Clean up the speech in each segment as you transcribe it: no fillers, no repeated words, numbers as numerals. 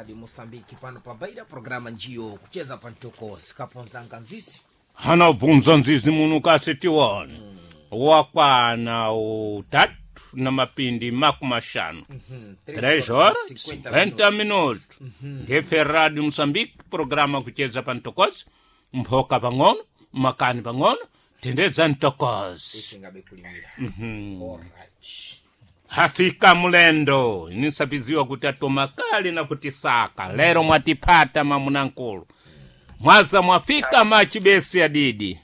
Radio Mosambiki pano pa Baida, programa njiyo kucheza pantoko sikaponzanga nzisi Hana bvunza nzizi muno kasi tione wakwana utatu na mapindi 50. 3 horas 50 minutos. Ngefe Radio Mosambiki programa kucheza pantokozi mphoka pang'ono makani pang'ono tendeza ntokozi. Ishingabe kulimira. Alright. Hafika mulendo nisapiziwa kuti atoma kali na kutisaka lero mwatipata mamunankulu mwaza mwafika machibesi adidi.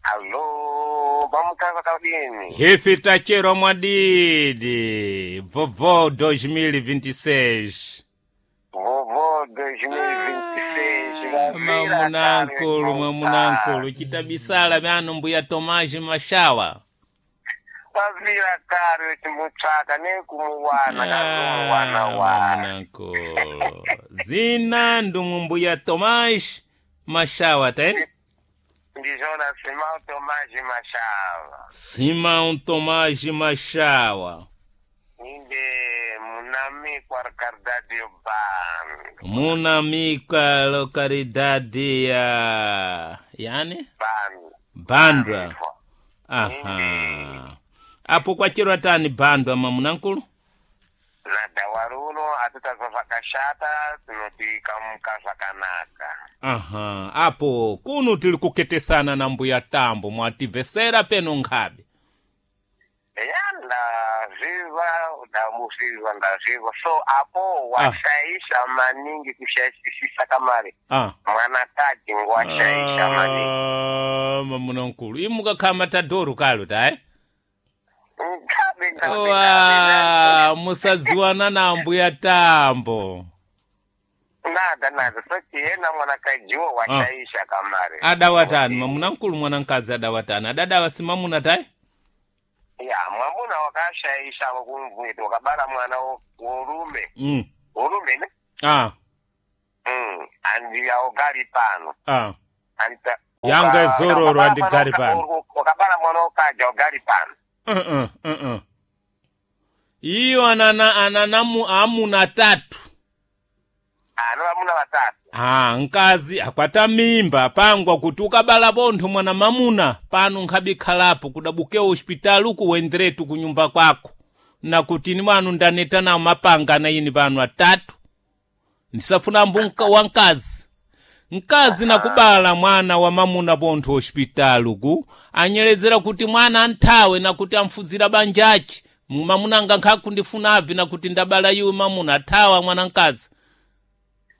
Alô, vamos casa Cabine. Hifi tachero mwadidi vovo 2026. Vovô 2026. Mamunankulu, mamunankulu chitabisala myano mbuya Tomaji Mashawa. Vavira kare chimutsvaka nekumuwana kazumuwana wa. Mamunankulu zina ndumwe mbuya Tomaji Mashawa taeni. Ndizvona Simão Tomás Mashava. Simão Tomás Mashawa. Inde munamikwa Ricardadio Band. Munamika localidade ya yani Band. Bandra. Aha. Apo kwachirwa tani Bandra mamunankulu? Nadawaruno atitazwa zvakashata tinoti kamuka zvakanaka. Aha. Apo kuno tili kuketesana na mbuya Tambo mwativesera peno nkhabe. Ya ndazviva ndamusizwa ndazviva so apo washaisha maningi kushaishisisa kamari. Ah. Mwanakadzi washaisha maningi. Ah, mamunankulu imukakhala matadoro kalo tayi. Ngabe ngabe ngabe. Wa musadziwana na mbuya Tambo. Nada nada soti yena mwanakadziwo washaisha kamari. Adawatani mamunankulu mwanamkazi adawatani adadawa simamuna tayi. Ya mwamuna wakashaisha wakumvwiti wakabara mwana worume. Worume ne? Ah. Andi yaogari pano. Ah. Anta Yanga zororo andigari pano. Wakabara mwana wokaja ogari pano. Uh-uh, uh-uh. Iyo anana ananamu amuna tatu. Ano vamuna vatatu. Ah, nkazi akwata mimba pangwa kuti ukabala bontho mwana mamuna pano nkhabikhalapo kudabuke hospitali uku wenderetu kunyumba kwako na kuti ni mwanu ndaneta nawo mapanga na ini pano atatu ndisafuna mbu wankazi mkazi nakubala mwana wa mamuna pontho hospitali uku anyelezera kuti mwana anthawe nakuti amfuzira banjachi mamunanga nkhakundifunavi nakuti ndabala iwe mamuna athawa mwana mkazi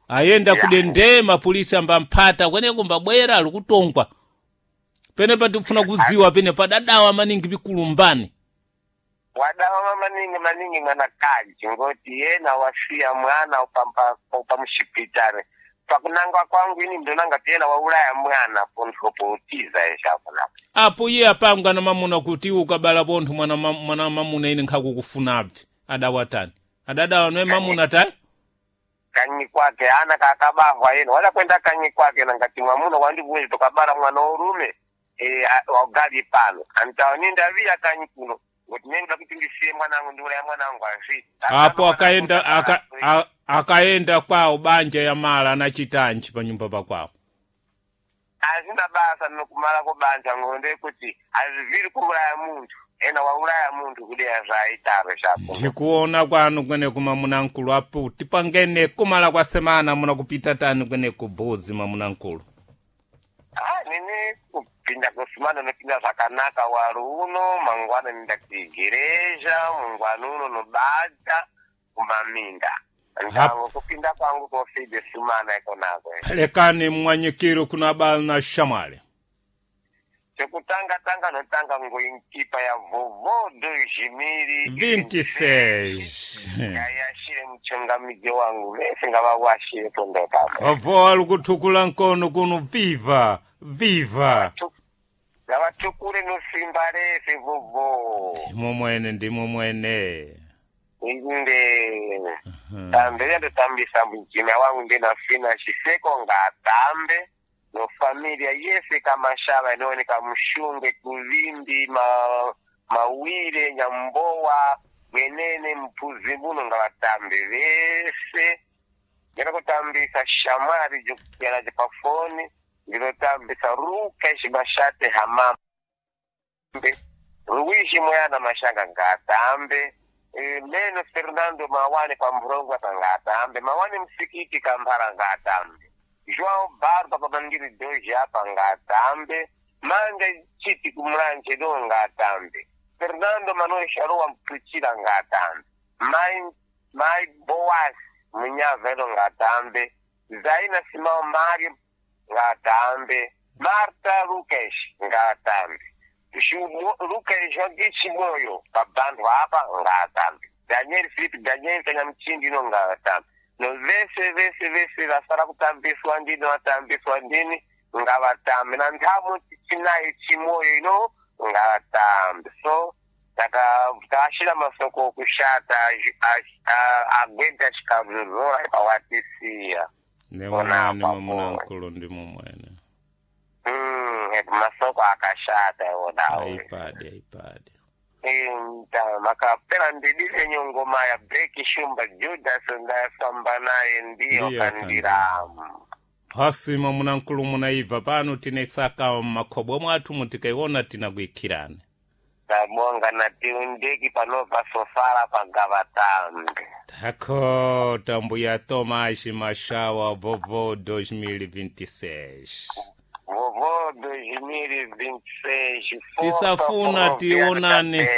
ayenda kudendema polisi ambamphata kweneko mbabwera alikutongwa pene patifuna kuziwa pene padadawa maningi pikulumbani. Wadawa maningi maningi mwanakaji ngoti yena wasiya mwana upamushipitari pakunangwa kwangu ini ndonanga ti yena waulaya mwana pontho poutiza eshapo napo. Apo iye apanga na mamuna kuti iwe ukabala pontho mwana, mwana mamuna ine nkhakukufunabvi adawatani adadawa noye mamuna tayi. Kanyi kwake ana kakabahwa yena wala kwenda kanyi kwake nangati mwamuna wandibwezi tokabala mwana worume wagali pano antawa nindaviya kanyi kuno ngoti nenda kuti ndisiye mwanangu ndiulaya mwanangu azvi. Apo akaenda akaenda kwawo banja ya mala anachitanji pa nyumba pakwawo. Azina basa nokumala kubanja ngonde kuti aziviri kuuraya munthu ena wauraya munthu kudeya zvaitaro zvapo. Ndikuona kwanu kweneku mamunankulu apo tipangene kumala kwa semana muna kupita tani kweneku bozi mamunankulu. Ah, nini kupinda kusumana nopinda zvakanaka wari uno mangwana nenda kuigereja mungwana uno nobata kumaminda ndavo kupinda kwangu kofide sumana ikonako. Pelekani mwanyikiro kuna bala na shamwali. Chekutanga tanga notanga ngoinkipa ya vovo 26. Yayashire muchongamidzi wangu vese ngavawashire pondokapo. Vovo alikuthukula nkono kuno viva viva. Ngavatukure nosimba rese vovo. Ndimo mwene ndimo mwene. Inde tambe yandotambisa mujina wangu ndinafina chiseko ngatambe no familia yese kamashava inooneka mushungwe kuvimbi mawire nyambowa bwenene mpuzi muno ngavatambe vese. Ndinokutambisa shamwari jokuyana pafoni. Ndinotambisa Rukesh Mashate Hamambe. Luigi Moyana Mashanga ngatambe. Leno Fernando Mawane pamburongwa pangatambe. Mawane msikiti Kambara ngatambe. João Barba pamandiri doji apa ngatambe. Manja chiti kumulanje do ngatambe. Fernando Manuel Sharuwa Mkuchila ngatambe. Mai Boas Munyavelo ngatambe. Zaina Simão Mário ngatambe. Marta Lucas ngatambe. Lucas Joaquim Chimoyo pabantu apa ngatambe. Daniel Filipe Daniel Kanyamchindi no ngatambe. No vese vese vese vasara kutambiswa ndini vatambiswa ndini ngavatambe na nthamu chinayo chimoyo ino ngavatambe. So takashira masoko okushata agweta chikazozora ipawatisiya. Nemwene mwamunankulu ndi mumwene. Masoko akashata iwonawo. Aipade aipade. Makapera ndidile nyongoma ya Beki Shumba Judas ndayafamba naye ndiyo kandiramu. Hasi mwamunankulu munaibva pano tinesaka makhobwa mwathu mutikaiona tinakuikhirani. Tabonga na tiundeki panova sofala pagavatambe. Tako tambuya Tomás Mashawa vovô 2026. Vovô 2026. Tisafuna tionane.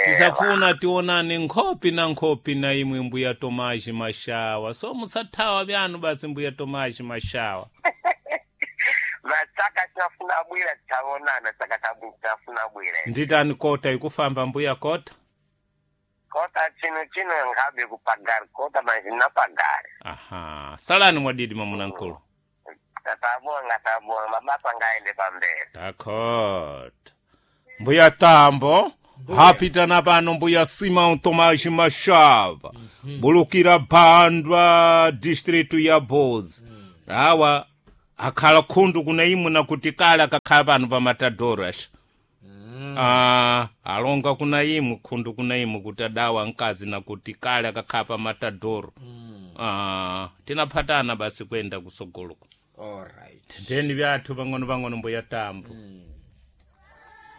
Tisafuna tionane nkhopi na nkhopi na imwe mbuya Tomás Mashawa. So musathawa byanu basi mbuya Tomás Mashawa. Matsaka tinafuna bwira titaonana saka tinafuna bwira. Nditani kota ikufamba mbuya kota? Kota chino chino ngabe kupagari kota mazina pagari. Aha, salani mwadidi mamunankulu. Tabonga tabonga mabasa ngaende pamberi. Takota. Mbuya Tambo, hapitana pano mbuya Simão Tomás Mashava. Bulukira Bandwa distritu ya Bozi. Awa akhala khundu kuna imwe nakuti kale akakhala pano pa Matadoras. Alonga kuna imwe khundu kuna imwe kuti adawa mkazi nakuti kale akakhala pa Matadoro. Tinaphatana basi kwenda kusogoloko. Alright. Tendeni vyathu pang'ono pang'ono mbuya Tambo.